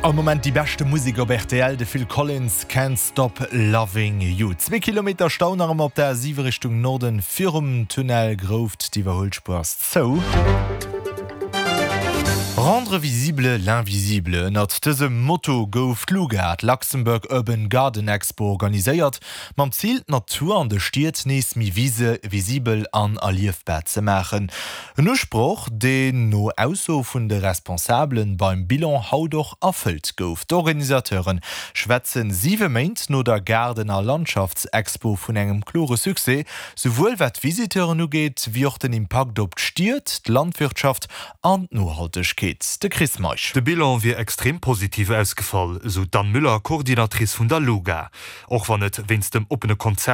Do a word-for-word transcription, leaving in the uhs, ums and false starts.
Am Moment déi beschte Musek op R T L, de Phil Collins, Can't Stop Loving You. Zwee Kilometer Stau nach ëmmer op der A siwe Richtung Norden virum Tunnel Grouft, d'Iwwerhuelspuer ass zou. Rendre visible l'invisible. Ënnert dësem Motto gouf d'LUGA, d'Luxembourg Urban Garden Expo, organiséiert, mam Zil, d'Natur an de Stied nees méi visibel an erliefbar ze maachen. En Usproch, deen no Ausso vun de Responsabelen beim Bilan haut och erfëllt gouf. D'Organisateure schwätzen siwe Méint no der Gaarden- a Landschaftsexpo vun engem klore Succès, souwuel wat d'Visiteuren ugeet, wéi och den Impakt op d'Stied, d'Landwirtschaft an d'Nohaltegkeet. De Chris Meisch. De Bilan wier extrem positiv ausgefall, sou d'Anne Müller, Coordinatrice vun der LUGA. Och wann et wéinst dem oppene Konzept